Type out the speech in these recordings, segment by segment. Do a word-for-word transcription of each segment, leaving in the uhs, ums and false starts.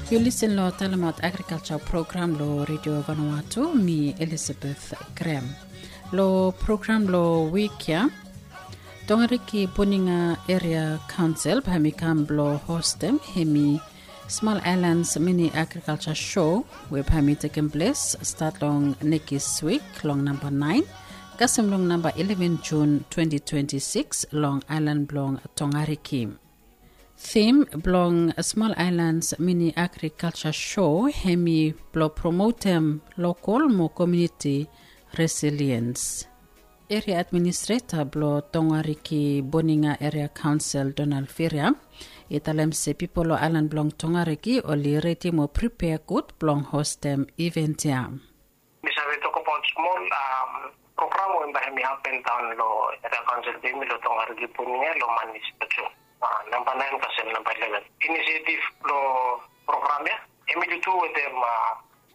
Yu lisen long talemaot agrikalsa program long redio Vanuatu, mi Elizabeth Graham. Long program long wik ya, Tongariki Boninga Eria Kaonsel bae hemi kam blong hostem hemi Smol Aelans Mini Agrikalsa Sho we bae hemi tekem ples stat long nekis wik long namba naen kasem long namba ileven Jun twenti twenti sikis long aelan blong Tongariki. Tim blong Smol Aelans Mini Agrikalsa Sho hemi blong promotem lokol mo komuniti resiliens. Eria administreta blong Tongariki Boninga Eria Kaonsel Donald Firia i talem se pipol long aelan blong Tongariki oli redi mo pripea gud blong hostem iven ya. Mi save tokbaot smol program we bae hemi hapen daon long Eria Kaonsel blong yumi long Tongariki Boninga long manis petu namba naen kasem namba ileven. Inisiativ blong program ya hemi tutu wetem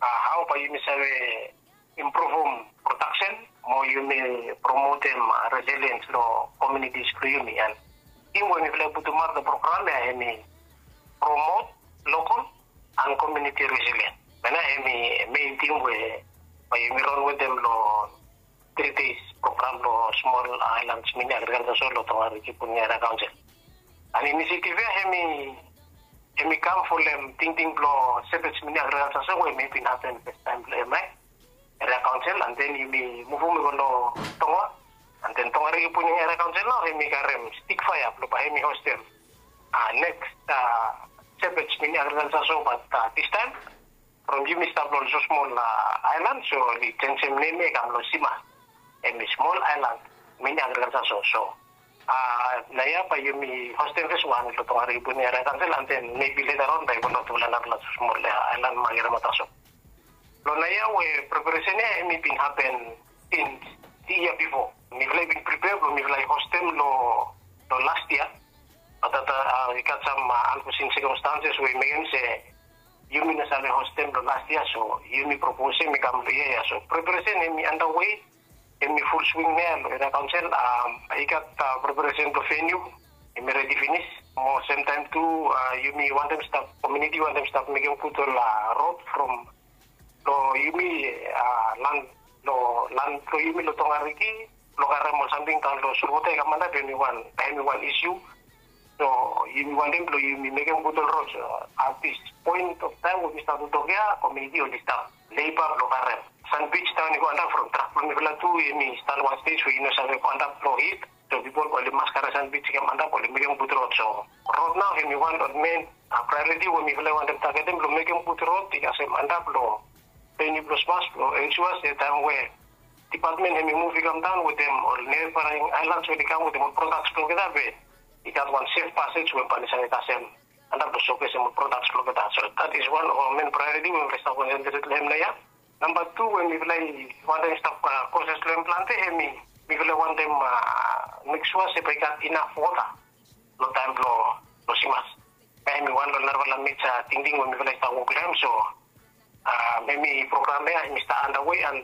hao bae yumi save impruvum prodaksen mo yumi promotem resiliens long komunitis blong yumi. An tim we mifala i putumaot long program ya hemi promot lokol an komuniti resiliens. Wanem ya hemi mein tim we bae yumi ran wetem long tri des program blong Smol Aelans Mini Agrikalsa Sho long Tongariki Boninga Eria Kaonsel. An inisiativ ya hemi hemi kam folem tingting blong Shepherds Mini Agrikalsa Sho we hemi bin hapen festaem blong hemia Eria Kaonsel, an den yumi muvum i go long Tonga. An den Tongariki Boninga Eria Kaonsel nao hemi karem stik faea blong bae hemi hostem neks Shepherds Mini Agrikalsa Sho, bat distaem from yumi stap long olsem smol aelan, so oli jenjem nem ya i kam long Simas, hemi Smol Aelans Mini Agrikalsa Sho. So naoia bae yumi hostem fes wan long Tongariki Boninga Eria Kaonsel, an den mebi leta on bae i go long tufala narafala smol aelan maket ya. Long naoia we preparesen ya hemi bin hapen sins yia bifo. Mifala i bin pripea blong mifala i hostem long las yia, bat afta i gat sam anfosin sekamstanses we i mekem se yumi no save hostem long las yia, so yumi propos hemi kam long yia ya. So preparesen hemi andawe, hemi ful swing naoia long Eria Kaonsel. I gat preparesen blong veniu, hemi redi finis. Mo semtaem tu yumi wantem stap, komuniti wantem stap mekem gud ol rod from long yumi lan, long lan blong yumi long Tongariki blong karem ol samting daon long solwota i kam antap, hemi wan, hemi wan isiu. So yumi wantem blong yumi mekem gud ol rod. At this point of time we mi stap tok ya, komuniti oli stap leba blong karem sanbij daon i go antap from trak blong mifala tu, hemi stap long wan stej we i no save go antap long hit. So pipol oli mas karem sanbij i kam antap, oli mekem gud rod. So rod nao hemi wan long men praeoriti we mifala i wantem tagetem blong mekem gud rod i kasem antap long veniu blong Simas blong ensua se taem we dipatmen hemi muv i kam daon wetem ol nebaring aelans we oli kam wetem ol prodaks blong olgeta, be i gat wan sef pasej we bae oli save kasem antap blong sokesem ol prodaks blong olgeta. So that is one of our men praeoriti we mifala i stap konsentret long hem naoia. Namba tu we mifala i wantem stap koses long hem plante, hemi mifala i wantem mek sua se bae i gat inaf wota long taem blong Simas. Hemi wan long narafala meja tingting we mifala i stap wok long hem. So hemi program ya hemi stap andawe, an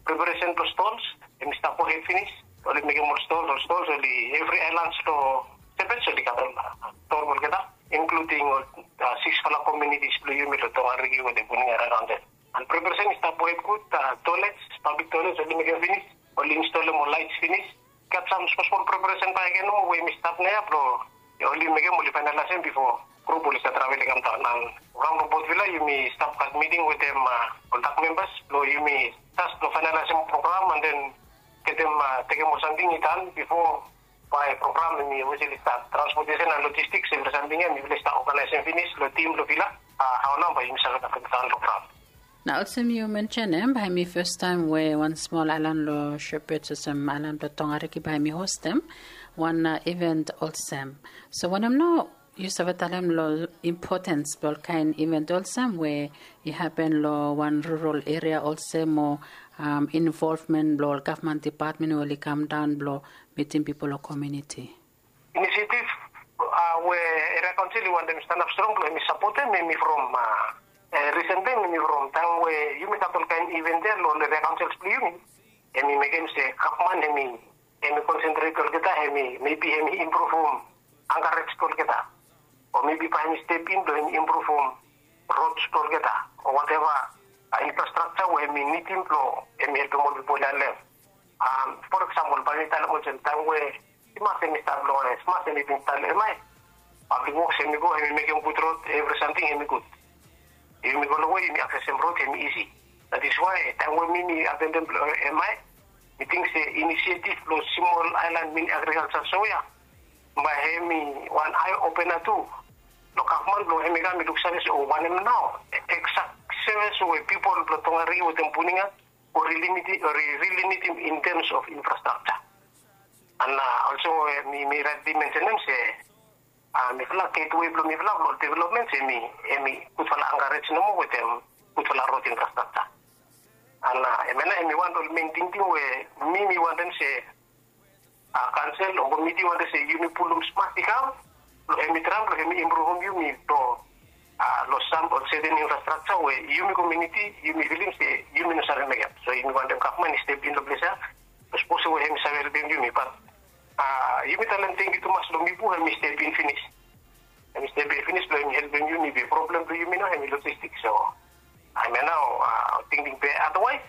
preparesen blong stols hemi stap gohed finis. Oli mekem ol stols, ol stols oli evri aelans long Shepherds oli gat ol stol blong olgeta, inkluding ol siksfala komunitis blong yumi long Tongariki wetem Boninga Eria Kaonsel. An preparesen i stap gohed gud. Toilets, pablik toilets oli mekem finis, oli instolem ol laets finis. Gat sam smol smol preparesen bakegen nomo we hemi stap naoia blong oli mekem, oli faenalaesem bifo grup oli save travel i kam daon. An program blong Port Vila yumi stap gat miting wetem ol dak membas blong yumi jes blong faenalaesem program an den getem, tekem ol samting i dan bifo bae program hemi ofisali stat. Transpotesen an lojistiks, evri samting ya mifala i stap oganaesem finis long tim blong Vila. Hao nao bae yumi save gat program. Nao olsem yu mensenem, bae hemi fastaem we wan smol aelan long Shepherds olsem aelan blong Tongariki bae hemi hostem wan iven olsem. So wanem nao yu save talem long impotens blong ol kaen iven olsem we i hapen long wan rural eria olsem, o involvmen blong ol gavman dipatmen we oli kam daon blong mitim pipol long komuniti? Inisiativ we Eria Kaonsel i wantem stanap strong blong hemi sapotem hemi from risen taem, hemi from taem we yumi gat ol kaen iven ya long ol Eria Kaonsels blong yumi. Hemi mekem se gavman hemi, hemi konsentret olgeta, hemi mebi hemi impruvum ankarej blong olgeta, o mebi bae hemi step in blong hemi impruvum rods blong olgeta o wateva infrastrakja we hemi nidim blong hemi helpem ol pipol ya long hem. For eksampol bae mi talem olsem taem we simas hemi stap long simas hemi bin stap long emae, pablik woks hemi go hemi mekem gud rod, evri samting hemi gud. Yumi go long we yumi aksesem rod hemi isi. That is why taem we mi mi atendem long emae, mi ting se inisietif blong smol aelan mini agrikalja so ya bae hemi wan ae opena tu long gavman blong hemi kam i luksave se o wanem nao eksak sevis we pipol blong Tongariki wetem Puninga o rili nidim in terms of infrastrakja. And olso mi mi raetli mensenem se mifala getwe blong mifala blong developmen se hemi gudfala ankarej nomo wetem gudfala rod infrastrakja. And hemia nao hemi wan long ol men tingting we mi mi wantem se kaonsel o komiti wantem se yumi pulum smat i kam blong hemi traem blong hemi impruvum yumi blong long sam ol seten infrastrakja we yumi komuniti yumi filim se yumi no save mekem. So yumi wantem gavman i step in long ples ya. Sapos we hemi save helpem yumi bat yumi talem tangkiu tumas long Mipu hemi step in finis. Hemi step in finis blong hemi helpem yumi be problem blong yumi nao hemi lojistik. So hemia nao tingting be adawaes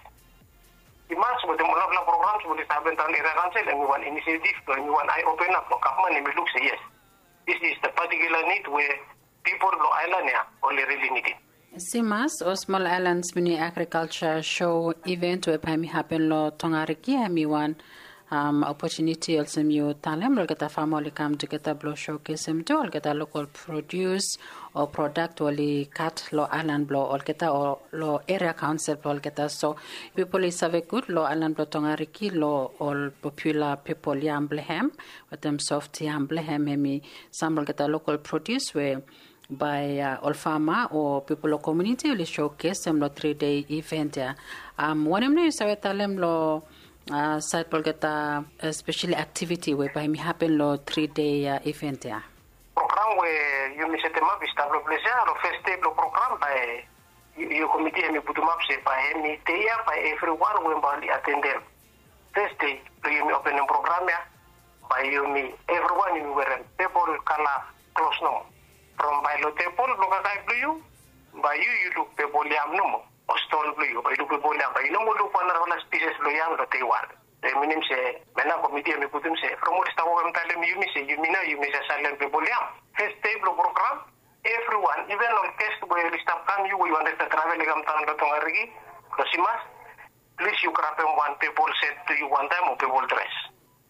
i mas wetem ol narafala programs we oli stap hapen daon long eria kaonsel hemi wan inisietif blong hemi wan ae open ap blong gavman hemi luk se yes, this is the particular need we pipol blong aelan ya oli rili nidim. Simas ol smol aelans mini agrikalja so iven we bae hemi hapen long Tongariki hemi wan opotuniti olsem yu talem long olgeta fama oli kam tugeta blong sokesem tu olgeta lokol produs o prodak we oli gat long aelan blong olgeta o long eria kaonsel blong olgeta. So pipol i save gud long aelan blong Tongariki long ol popula pepol yam blong hem wetem soft yam blong hem hemi sam long olgeta lokol produs we bae ol fama o pipol long komuniti oli sokesem long tri dei iven ya. Wanem nao yu save talem long saed blong olgeta speseli aktiviti we bae hemi hapen long tri dei iven ya? Program we yumi setemap i stap long ples ya long fes dei blong program bae yu komiti hemi putumap se bae hemi dei ya bae evriwan we bae oli atendem. Fes dei blong yumi openem program ya bae yumi evriwan yumi werem pepol kala klos nomo. From bae long tebol blong kakae blong yu bae yu yu luk pepol yam nomo. O stol blong yu bae yu luk pepol yam bae yu no moa luk wan narafala spises blong yam long dei wan. Hemi minim se hemia nao komiti hemi putum se from oli stap wok hemi talem yumi se yumi nao yumi save salem pepol yam. Fes dei blong program evriwan iven ol ges we oli stap kam yu we yu wantem stap travel i kam daon long Tongariki long simas, plis yu grabem wan pepol set blong yu wantaem o pepol dres.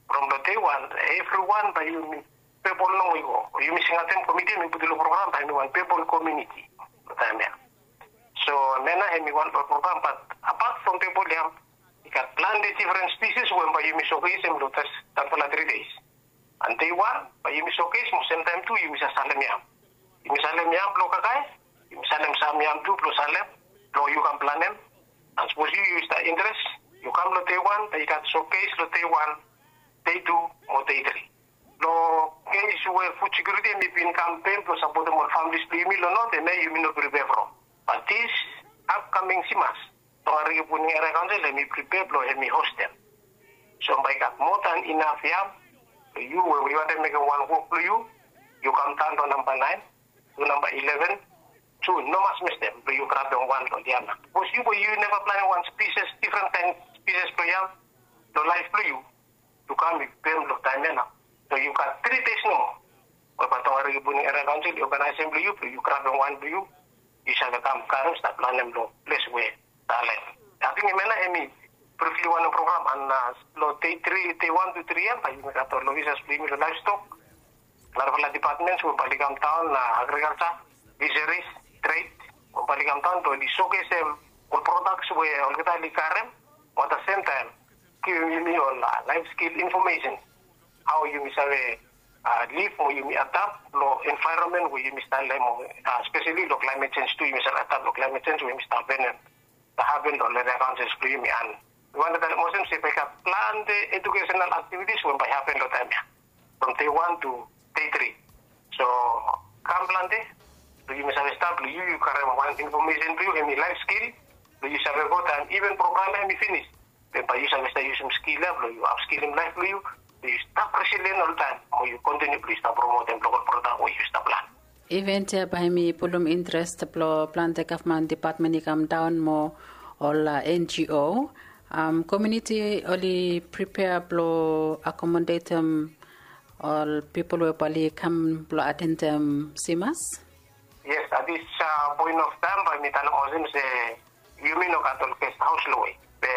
From long dei wan evriwan bae yumi pepol nomo i go o yumi singatem komiti hemi putum long program bae hemi wan pepol komuniti long taem ya. So hemia nao hemi wan blong program bat apat from pepol yam i gat plante difren spises we bae yumi sokesem long disfala tri deis. And dei wan bae yumi sokes mo semtaem tu yumi save salem yam. Yumi salem yam blong kakae, yumi salem sam yam tu blong salem blong yu kam planem. And sapos yu yu stap interes yu kam long dei wan bae i gat sokes long dei wan, dei tu mo dei tri. Long kes we fud sekiuriti hemi bin kam pen blong sapotem ol familis blong yumi long not hemia yumi no pripea from. Bat dis apkaming simas Tongariki Puninga Eria Kaonsel hemi pripea blong hemi hostem. So bae i gat moa dan inaf yam blong yu we yu wantem mekem wan wok blong yu, yu kam daon long namba naen tu namba ileven tu no mas mistem blong yu grabem wan long ol yam ya. Sapos yu we yu neva planem wan spises difren kaen spises blong yam long laef blong yu, yu kam yu pem long taem ya nao. So yu gat tri deis nomo we bae Tongariki Puninga Eria Kaonsel i oganaesem blong yu blong yu grabem wan blong yu, yu save kam karem stap planem long ples we talem. Ating hemia nao hemi brifli wanem program and long dei tri dei wan tu tri ya bae yumi gat ol ofisas blong yumi long laevstok, narafala dipatmens we bae oli kam daon, agrikalja, fiseris, tred, we bae oli kam daon blong oli sokesem ol prodaks we olgeta oli karem. Mo at the sem taem givim yumi ol laef skil infomesen hao yumi save lif mo yumi adap long envaeronmen we yumi stap long hem, speseli long klaemet jenj tu yumi save adap long klaemet jenj we yumi stap hapenem. Stap hapen long ol eria kaonsels blong yumi and mi wantem talem olsem se bae i gat plante ejukesenal aktivitis we bae i hapen long taem ya from dei wan tu dei tri. So kam plante blong yumi save stap blong yu yu karem wan infomesen blong yu hemi laef skil blong yu save go taem iven program ya hemi finis. Be bae yu save stap yusum skil ya blong yu apskilim laef blong yu blong yu stap resilien oltaem mo yu kontiniu blong yu stap promotem lokal prodak we yu stap plan. Event ya bae hemi pulum interes blong plante gavman depatmen i kam daon mo ol NGO. Komuniti oli pripea blong akomodetem ol pipol we bae oli kam blong atendem simas? Yes, at this point of time bae mi talem olsem se yumi no gat ol gest haos long we, be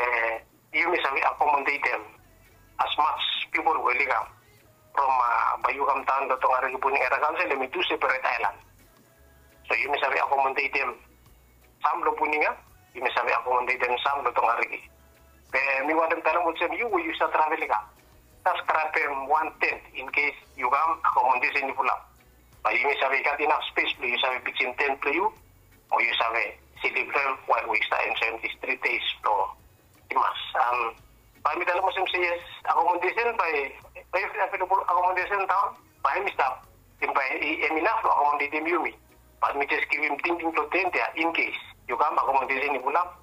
yumi save akomodetem as much pipol we oli kam from bae yu kam daon long Tongariki Puning Era Kaonsel, hemi tu seperet aelan. So yumi save akomodetem sam long Puning ya, yumi save akomodetem sam long Tongariki. Be mi wantem talem olsem yu we yu save travel i kam, jes grabem wan tent in case yu kam akomodesen i fulap. Bae yumi save gat inaf spes blong yu save pitsim tent blong yu, o yu save slip long hem wael we yu stap enjoem dis three days blong simas. Bae mi talem olsem se yes, akomodesen bae, bae yu available akomodesen daon, bae hemi stap, bae hemi inaf blong akomodetem yumi. Bae mi jes givim tingting blong tent ya in case yu kam akomodesen i fulap,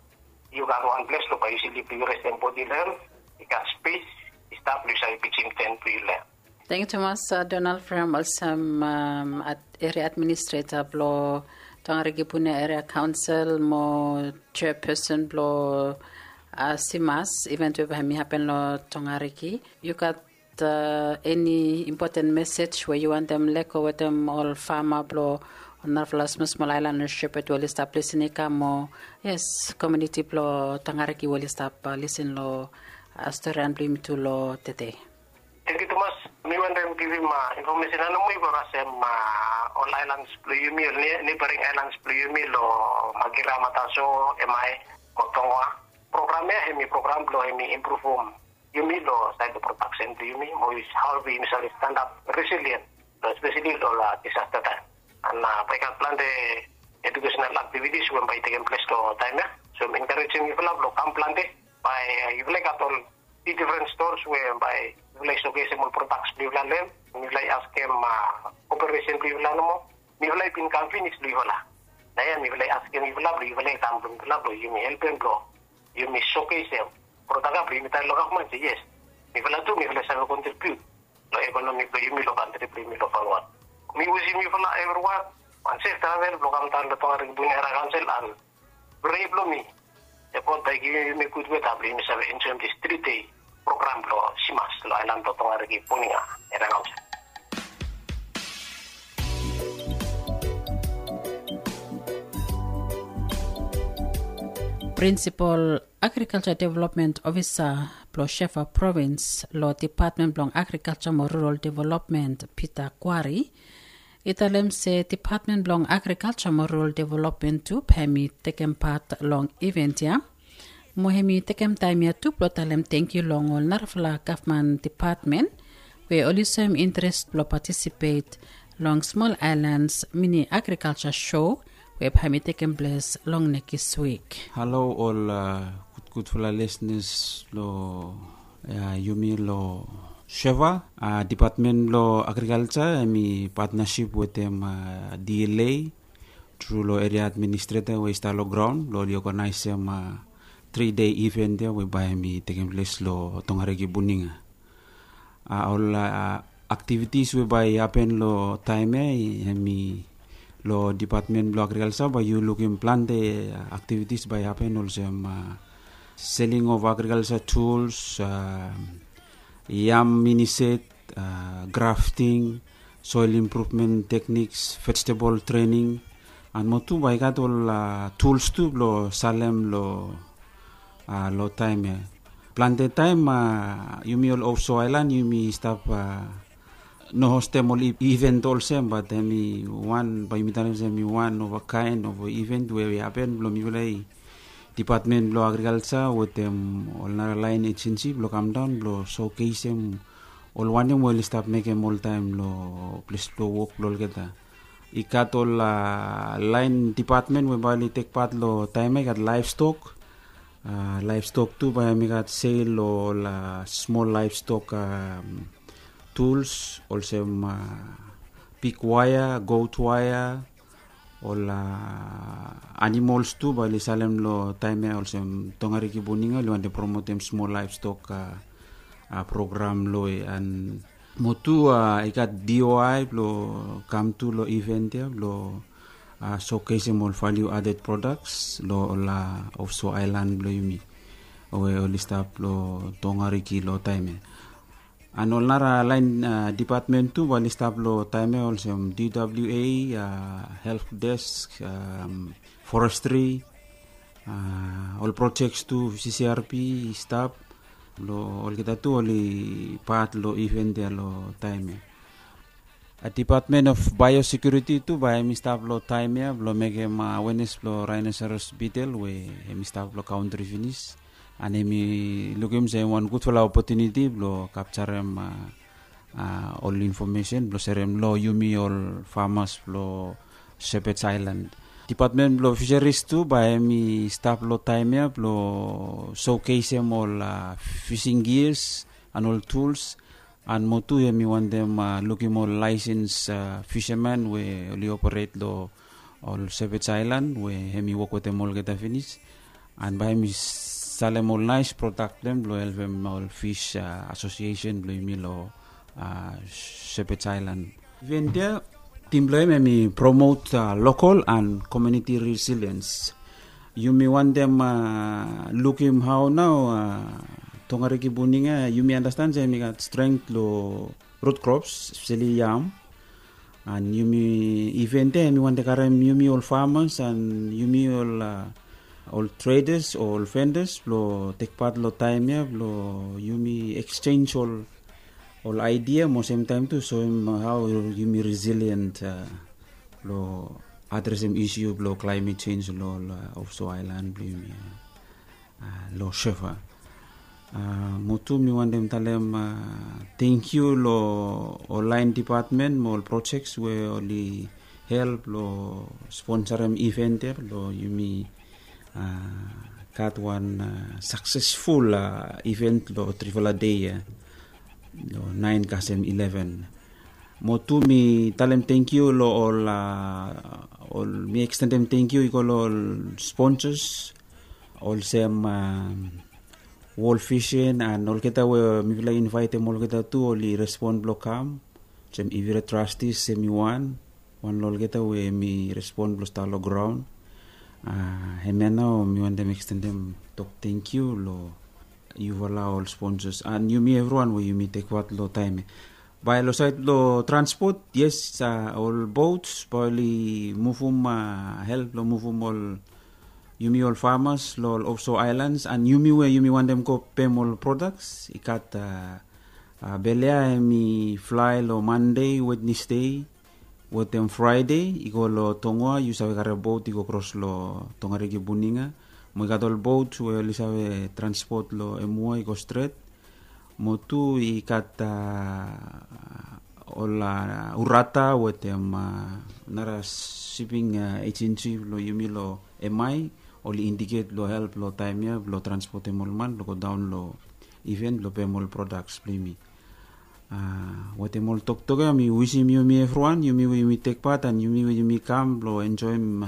yu gat wan ples blong bae yu slip, yu restem bodi long hem, i gat spes i stap blong yu save pitsim tent blong yu long hem. Tangkiu tumas Donald from olsem eria administreta blong Tongariki Puning Era Kaonsel mo chairperson blong simas event we bae hemi hapen long Tongariki. Yu gat eni impoten mesej we yu wantem lego wetem ol fama blong ol narafala smosmol aelan long Shepherd we oli stap lisin i kam mo, yes, komuniti blong Tongariki we oli stap lisin long storian blong yumi tu long tede? Tangkiu tumas. Mi wantem givim infomesen ya nomo i go kasem ol aelans blong yumi, ol neibaring aelans blong yumi long Makira, Mataso, Emae mo Tongoa. Program ya hemi program blong hemi impruvum yumi long saed blong prodaksen blong yumi mo hao we yumi save stanap resilien long espeseli long ol disasta taem. An bae i gat plante edukesenal aktivitis we bae i tekem ples long taem ya. So mi enkarejem yufala blong kam plante. Bae yufala i gat ol difren stols we bae yufala i sokesem ol prodaks blong yufala long hem. Mifala i askem koperesen blong yufala nomo. Mifala i bin kam finis long yufala. Naoia mifala i askem yufala blong yufala i kam blong yufala blong yumi helpem blong yumi sokesem prodak ya blong yumi talem long gavman se yes, mifala tu mifala i save kontribiut long ekonomi blong yumi long kantri blong yumi long Vanuatu. Mi wisem yufala evriwan wan sef travel blong kam daon long Tongariki Puning Era Kaonsel an prea blong mi se God bae i givim yumi gud weta blong yumi save enjoem dis tri dei program blong simas long aelan blong Tongariki Puning Era Kaonsel. Prinsipol Agrikalja Development Ofisa blong Shefa Provins long Depatmen blong Agrikalja mo Rural Development, Peter Quarry, i talem se Depatmen blong Agrikalja mo Rural Development tu bae hemi tekem pat long event ya. Mo hemi tekem taem ya tu blong talem tangkiu long ol narafala gavman depatmen we oli soem interes blong patisipet long Smol Aelans Mini Agrikalja Show we bae hemi tekem ples long nekis wik. Halo ol gudgudfala lisnas long yumi long Shefa. Depatmen blong Agrikalja hemi patnasip wetem DLA tru long eria administreta we i stap long graon blong oli oganaesem tri dei iven ya we bae hemi tekem ples long Tongariki Puning. Ol aktivitis we bae i hapen long taem ya hemi long Depatmen blong Agrikalja bae yu lukim plante aktivitis bae i hapen olsem seling of agrikalja tuls, yam minised, grafting, soel impruvmen tekniks, vejetebol trening, an mo tu bae i gat ol tuls tu blong salem long taem ya. Plante taem yumi ol ofso aelan yumi stap no hostem ol iven olsem, bat hemi wan bae yumi talem se hemi wan of a kaen of iven we i hapen blong mifala i Depatmen blong Agrikalja wetem ol nara laen ejensi blong kamdaon blong sokesem ol wanem we oli stap mekem oltaem long ples blong wok blong olgeta. I gat ol laen depatmen we bae oli tek pat long taem ya, i gat laevstok. Laevstok tu bae hemi gat sel long ol smol laevstok tuls olsem pig waea, got waea, ol animols tu bae oli salem long taem ya olsem Tongariki Puning oli wantem promotem smol laevstok program long we an Mo tu i gat D O I blong kam tu long event ia blong showcasem ol value added products long ol offshore island blong yumi we oli stap long Tongariki long taem ia. And ol nara laen department tu bae oli stap long taem ia olsem D W A, help desk, forestry, ol projects tu, C C R P i stap. Long olgeta tu oli pat long event ia long taem ia. Department of Biosecurity tu bae hemi stap long taem ia blong mekem awareness blong rhinoceros beetle we hemi stap long country finis. And hemi lukim se wan gudfala opportunity blong capturem ol information blong serem long yumi ol farmers blong Shepherd's Island. Department blong Fisheries tu bae hemi stap long taem ia blong showcasem ol fishing gears and ol tools. And mo tu hemi wantem lukim ol license fisherman we oli operate long ol Shepherd's Island we hemi wok wetem olgeta finis. And bae hemi salem ol nice product blong helpem ol fish association blong yumi long Shepherd's Island. Event ia, tim blong hem hemi promote local and community resilience. Yumi wantem lukim hao nao Tongariki Buninga, yumi anastan se hemi gat strength long root crops, especially yam. And yumi event ia hemi wantem karem yumi ol farmers and yumi ol ol traders o ol vendors blong tek pat long taem ia blong yumi exchange ol ol idea mo semtaem tu soem hao yumi resilient long adresem issue blong climate change long ol offshore island blong yumi long Shefa. Mo tu mi wantem talem tangkiu long ol laen department mo ol projects we oli help long sponsorem event ia blong yumi gat wan successful event long trifala dei ia long naen kasem ileven. Mo tu mi talem tangkiu long ol ol mi extendem tangkiu i go long ol sponsors olsem World Vision and olgeta we mifala i invaetem olgeta tu oli respon blong kam. Olsem Ivira Trustees hemi wan wan long olgeta we hemi respon blong stap long graon. Hemia nao mi wantem extendem tok tangkiu long yufala ol sponsors and yumi evriwan we yumi tek pat long taem ia. Bae long saed long transport, yes, ol boats bae oli muvum help long muvum ol yumi ol farmers long ol offshore islands and yumi we yumi wantem go pem ol products i gat Belea hemi flae long Mande, Wednesde wetem Fraede i go long Tongoa, yu save karem bot i go kros long Tongariki Buninga. Mo i gat ol bot we oli save transpot long Emua i go stret. Mo tu i gat ol Urata wetem nara siping ejensi blong yumi long Emai oli indiket blong help long taem ia blong transpotem ol man blong godaon long iven blong pem ol prodaks blong yumi. Wetem ol toktok ia mi wisim yumi evriwan, yumi we yumi tek pat and yumi we yumi kam blong enjoem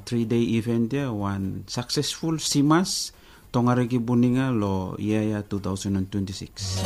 tri dei iven ia, wan saksesful Simas Tongariki Buninga long yia ia two thousand and twenty-six.